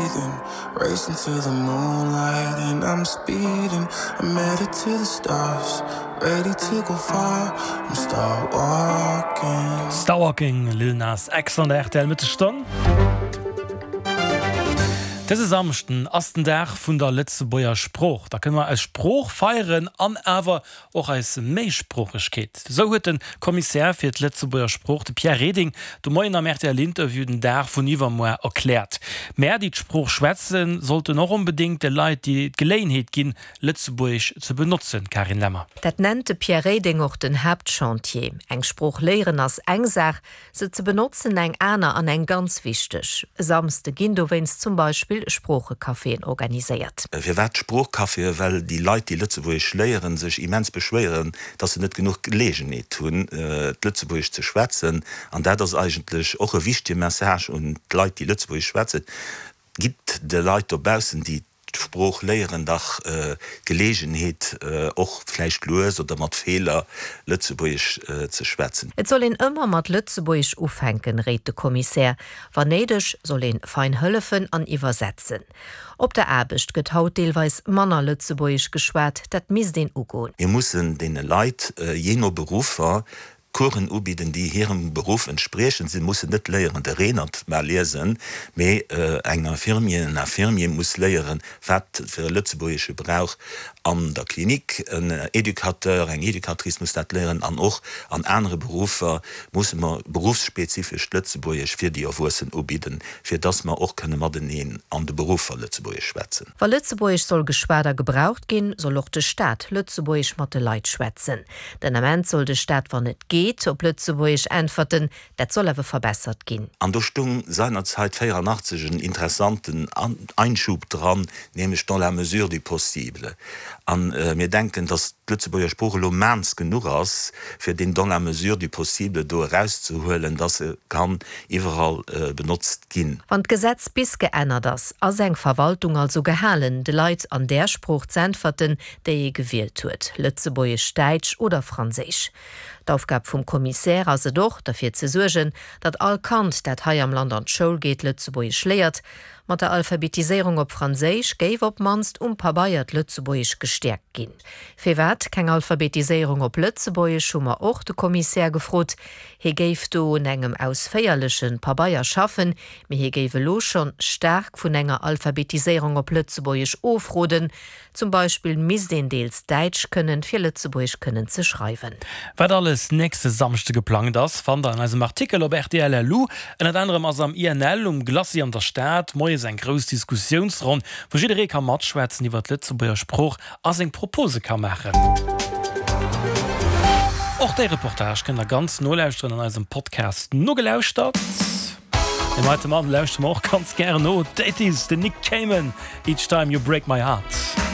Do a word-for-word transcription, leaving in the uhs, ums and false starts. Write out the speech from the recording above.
breathing. Racing to the moonlight and I'm speeding. I'm headed to the stars, ready to go far. I'm start walking. Star Walking, Lil Nas X an der R T L Mëttesstonn. Dëse Samschden ass den Dag vun der Lëtzebuerger Sprooch. Da kënne mer eis Sprooch feieren an awer och eis Méisproochegkeet. Esou huet de Kommissär fir d'Lëtzebuerger Sprooch, de Pierre Reding, de Moien am R T L-Interview den Dag vun iwwermuer erkläert. Mär, déi d'Sprooch schwätzen, sollten och onbedéngt de Leit déi d'Geleeënheet ginn, Lëtzebuergesch ze benotzen, Karin Lemmer. Dat nennt de Pierre Reding och den Haaptchantier. Eng Sprooch léieren ass eng Saach, se ze benotzen eng aner an eng ganz wichteg. E Samschde ginn dowéinst zum Beispill Sproochecaféen organiséiert. Firwat Sproochcaféen? Well déi Leit, déi Lëtzebuergesch léieren, sech immens beschwéieren, dass se net genuch Geleeënheet hunn, d'Lëtzebuergesch ze schwätzen. An dat ass eigentlech och e wichtege Message un d'Leit, déi Lëtzebuergesch schwätzen: Gitt de Leit dobaussen, déi d'Sprooch léieren, dach d'Geleeënheet, och vläicht lues oder mat Feeler Lëtzebuergesch ze schwätzen. Et soll een ëmmer mat Lëtzebuergesch ufänken, réit de Kommissär. Wann néideg, soll een fein hëllefen an iwwersetzen. Op der Aarbecht gëtt haut deelweis manner Lëtzebuergesch geschwat, dat misst een ugoen. Mir mussen deene Leit, jee no Beruffer, Coursen ubidden, déi hirem Beruff entspriechen. Si mussen net léieren, de Renert mar liesen, mee eng Infirmier, en Infirmier muss léieren, wat fir e Lëtzebuergesche brauch an der Klinik. En Educateur, eng Educatrice muss dat léieren an och an anere Beruffer musse mer beruffsspezifescht Lëtzebuergesch fir déi Erwuessen ubidden, fir dass mer och kënne mateneen an de Beruffer Lëtzebuergesch schwätzen. Wa Lëtzebuergesch soll geschwat a gebraucht ginn, soll och de Staat Lëtzebuergesch mat de Leit schwätzen. Den Ament soll de Staat, wann et geet, op Lëtzebuergesch äntwerten, dat soll awer verbessert ginn. An do stung seinerzeit véierannachtzeg en interessanten Einschub dran, nämlech dans la mesure du possible. A mir denken, dass d'Lëtzebuerger Sprooch elo maans genuch ass, fir deen dans la mesure du possible do erauszehuelen, dass e kann iwwerall benotzt ginn. Wann d'Gesetz bis geännert ass, ass eng Verwaltung also gehalen, de Leit an där Sprooch z'äntwerten, déi ee gewielt huet, Lëtzebuergesch, Däitsch oder Franséisch. D'Aufgab vum Kommissär ass et och, derfir ze suergen, datt all Kand, dat hei am Land an d'Schoul geet, Lëtzebuergesch léiert. Mat der Alphabetiséierung op Franséisch géif op d'mannst um Pabeier d'Lëtzebuergesch gestäerkt ginn. Firwat keng Alphabetiséierung op Lëtzebuergesch, hu mer och de Kommissär gefrot. Hie géif do un engem ausféierleche Pabeier schaffen, mee hie géif elo schonn staark vun enger Alphabetiséierung op Lëtzebuergesch ofroden. Zum Beispill misst een deels Däitsch kënnen, fir Lëtzebuergesch kënnen ze schreiwen. Wat alles nächste Samschde geplangt ass, fannt der an eisem Artikel op R T L punkt L U. Ënnert anerem ass am I N L um Glacis an der Stad moies eng grouss Diskussiounsronn, wou jidderee ka matschwätzen iwwer d'Lëtzebuerger Sprooch a seng Propose ka maachen. Och de Reportage kënnt der ganz nolauschteren an eisem Podcast Nogelauschtert. Deem heite Mann lauschtere mer och ganz gären no. Dat ass den Nick Cayman, Each Time You Break My Heart.